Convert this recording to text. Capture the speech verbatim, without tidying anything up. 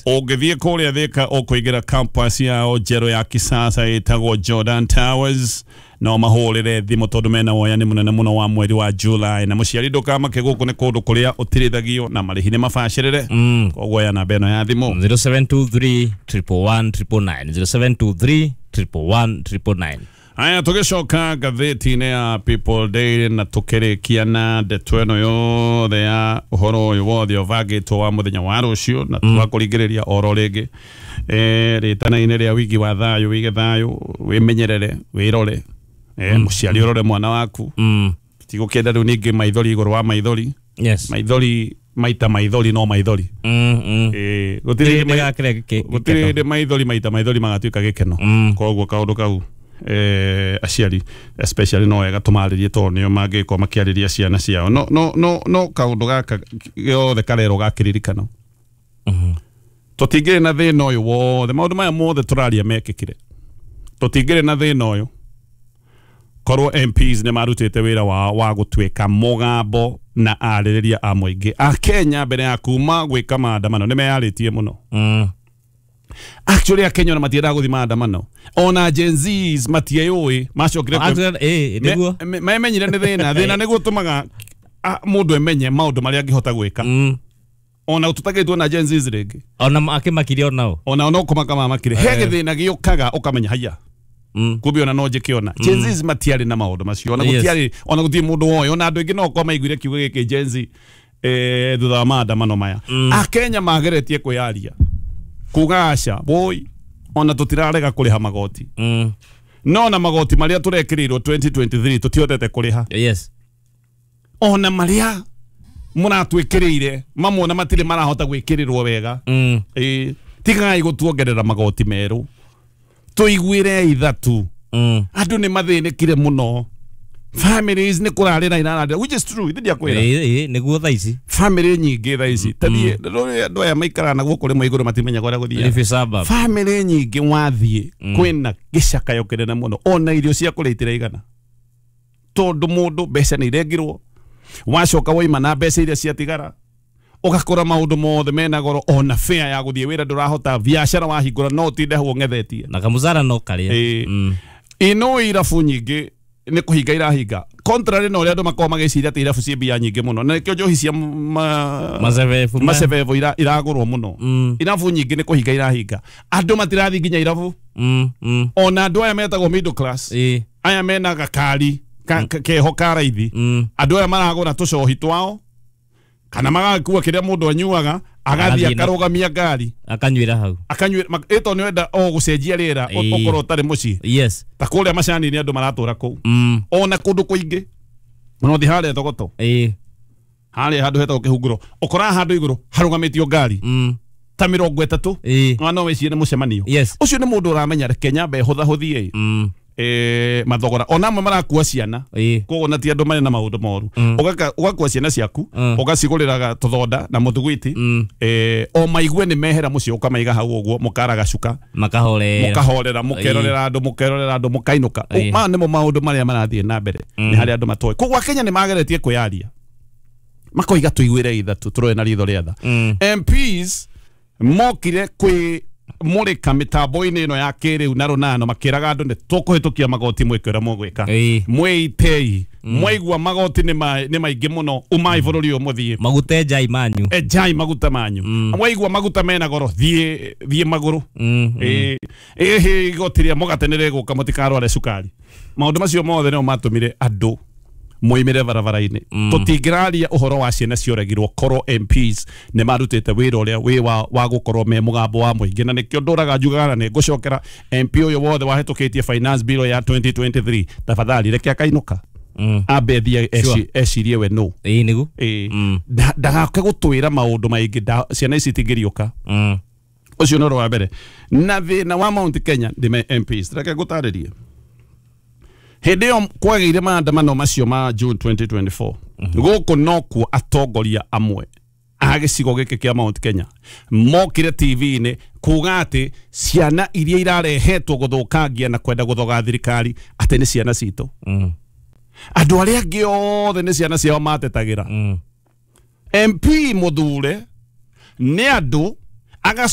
Ũngĩthiĩ kũrĩa Thika ũkũingĩra campus yao njerũ ya kisasa ĩtagwo Jordan Towers. No mahũrĩre thimũ tondũ mena woyani mũnene mũno wa mweri wa July. Na mũciari ndũkamake, gũkũ nĩ kũndũ kũrĩa ũtirithagio na marĩhi nĩ mabacĩrĩre. Mm. Koguo ya namba ĩno ya thimũ zero seven two three triple one triple nine, zero seven two three triple one triple nine. Aya, tũgĩcoka ngathĩti-inĩ ya People Daily na tũkĩrĩkia na ndeto ĩno yothe ya ũhoro ũyũ wothe ũbangĩtwo wa mũthenya wa rũciũ na tũgakũringĩrĩria oro rĩngĩ eh, rĩtana-inĩ rĩa wigi wa thayũ, wige thayũ, wĩmenyerere, wĩrore, eh, mũciari ũrore mwana waku. Mm. Tigũkĩenda rĩu ningĩ maithori igũrũ wa maithori. Yes. Maithori maita maithori no maithori. Mm, mm. Eh, gũtirĩ hĩndĩ mai- Ndĩgakĩre gĩkĩ- gũtirĩ hĩndĩ maithori maita maithori magatuĩka gĩkeno. Mm. Koguo kaũndũ kau, eh, aciari especially no wega tũmarĩrie tondũ nĩo mangĩkorwo makĩarĩria ciana ciao. no no no no kaũndũ gaka gothe karerwo gakĩririkano, Mhm. tũtingĩrĩ na thĩna ũyũ wothe, maũndũ maya mothe tũraria mekĩkire, tũtingĩrĩ na thĩna ũyũ korwo M Ps nĩ marutĩte wĩra wao wa gũtuĩka mũgambo na arĩrĩria a mũingĩ a Kenya mbere ya kuma gwĩka maandamano. Nĩ meyarĩtie mũno. Mm. Actually, akenya ona matiendaga gũthiĩ maandamano, ona Gen Zs matieyũĩ macokire kwĩ- Actually, eh, nĩguo. Me- me- memenyire nĩ thĩna. Thĩna nĩguo ũtũmaga ah, mũndũ emenye maũndũ marĩa angĩhota gwĩka. Mm. Ona tũtagĩtwo na Gen Zs rĩngĩ. Ona akĩmakirie onao. Ona no kũmaka mamakire he gĩthĩna gĩũkaga ũkamenya haya, Mm. kumbe ona no njĩke. Ona Gen Zs matiarĩ na maũndũ macio, ona Yes. gũtiarĩ, ona gũtirĩ mũndũ woĩ, ona andũ aingĩ no korwo maiguire kiugo gĩkĩ Gen Z eh, thutha wa maandamano maya. Akenya mageretie kwĩyaria kuga aca woi, ona tũtirarega kũrĩha magoti, Mm. no na magoti marĩa tũrekĩrĩirwo twenty twenty-three tũtihotete kũrĩha. Yes. Ona marĩa mũratwĩkĩrĩire mamwe ona matirĩ marahota gwĩkĩrĩrwo wega. Mm. Ĩĩ, tigai gũtuongerera magoti merũ, tũiguĩre ithatu. Mm. Andũ nĩ mathĩnĩkire mũno, families nĩ kũrarĩra irararĩra, which is true, ithe ndiakwĩra. Ĩĩ, ĩĩ, nĩguo thaa ici. Family nyingĩ thaa ici, tathiĩ andũ aya maikaraga na gũkũ rĩmwe igũrũ matimenyaga ũrĩa gũthiaga. Leafy suburb. Family nyingĩ wathiĩ kwĩna gĩcakayo kĩnene mũno, ona irio cia kũrĩa itiraigana tondũ mũndũ mbeca nĩ irengirwo, wacoka waima na mbeca iria ciatigara ũgakora maũndũ mothe mena goro, ona fare ya gũthiĩ wĩra ndũrahota, biacara wahingũra no ũtinde hau ũng'ethetie. Na kamũcara no karĩa. Ĩĩ. Mm. Ino irabu nyingĩ nĩ kũhinga irahinga, contrary na ũrĩa andũ makoragwo magĩciria atĩ irabu ciĩ mbia nyingĩ mũno, na nĩkĩo njohi cia ma- Macebebu. macebebu ira- iragũrwo mũno. Mm. Irabu nyingĩ nĩ kũhinga irahinga, andũ matirathiĩ nginya irabu. Mm. Mm. Ona andũ aya metagwo middle class, Ĩĩ. aya mena gakari ka, ka, keho ka raithi, Mm. andũ aya maragũra tũcohi twao kana magakua kĩrĩa mũndũ anyuaga, agathiĩ Agathiĩ na- akarũgamia ngari. Akanyuĩra hau. Akanyuĩra ĩto nĩ wenda o gũcenjia rĩera, Ĩĩ. ũkorwo ũtarĩ mũciĩ. Yes. Ta kũrĩa macani-inĩ andũ maratũra kũu, Mm. ona kũndũ kũingĩ ona ũthiĩ harĩa Thogoto, Ĩĩ. harĩa handũ hetagwo Kĩhunguro, ũkoraga handũ igũrũ harũgamĩtio ngari Mm. ta mĩrongo ĩtatũ. Ĩĩ. Na no wĩcirie nĩ mũcemanio. Yes. Ũcio nĩ mũndũ ũramenya reke nyambe hũthahũthie Mm. eh, mathogora. Ona amwe marakua ciana. Ĩĩ. Koguo na ti andũ marĩ na maũndũ moru. Ũgaka- ũgakua ciana ciaku, Mm. ũgacigũrĩraga tũthonda na mũthugwiti, Mm. eh, o maigue nĩ mehera mũciĩ, ũkamaiga hau ũguo mũkaraga cuka. Makahorera. Mũkahorera, mũkerorera andũ, mũkerorera andũ, mũkainũka. Ĩĩ. Maya nĩmo maũndũ marĩa marathiĩ na mbere nĩ harĩa andũ matoĩ. Koguo Akenya nĩ mageretie kwĩyaria makoiga tũiguĩre ithatũ, tũrore na ritho rĩa tha. Mm. M Ps mokire kwĩ mũrĩka mĩtambo-inĩ ĩno ya kĩrĩu na rũnano makĩraga andũ nĩ tũkũhĩtũkia magoti, mwĩke ũrĩa mũgwĩka. Ĩĩ. Mwĩitei, mwaigua magoti nĩ ma- nĩ maingĩ mũno, umai bũrũri ũyũ mũthiĩ. Maguta enjai manyu. Enjai maguta manyu. Mwaigua maguta mena goro, thiĩ thiĩ magũrũ. Mm. Ĩĩ, ĩhĩ, igoti rĩa mũgate nĩ rĩgũka, mũtikarware cukari. Maũndũ macio mothe nĩmo matũmire andũ moimĩre barabara-inĩ. Tũtingĩraria ũhoro wa ciana cioragirwo korwo M Ps nĩ marutĩte wĩra ũrĩa wĩ wa, wa gũkorwo me mũgambo wa mũingĩ. Na nĩkĩo ndũraga njugaga na nĩ ngũcokera, M P ũyũ wothe wahĩtũkĩtie finance bill ya twenty twenty-three, tafadhali reke akainũka, Mm. ambe thiĩ eci- ecirie we no. Ĩĩ, nĩguo. Ĩĩ. Mm. Nda- ndagake gũtwĩra maũndũ maingĩ, nda- ciana ici itingĩriũka. Mm. Ũcio nĩ ũndũ wa mbere. Na thĩna wa Mount Kenya ndĩ M Ps, reke ngũtarĩrie. Hĩndĩ ĩyo kwagĩire maandamano macio ma June twenty twenty-four, gũkũ nokuo atongoria amwe a gĩcigo gĩkĩ kĩa Mount Kenya mokire T V-inĩ kuga atĩ ciana iria irarehetwo gũthũkangia na kwenda gũthoga thirikari atĩ nĩ ciana citũ. Mm. Andũ arĩa angĩ othe nĩ ciana ciao matetagĩra. Mm. M P mũthure nĩ andũ Agacoka.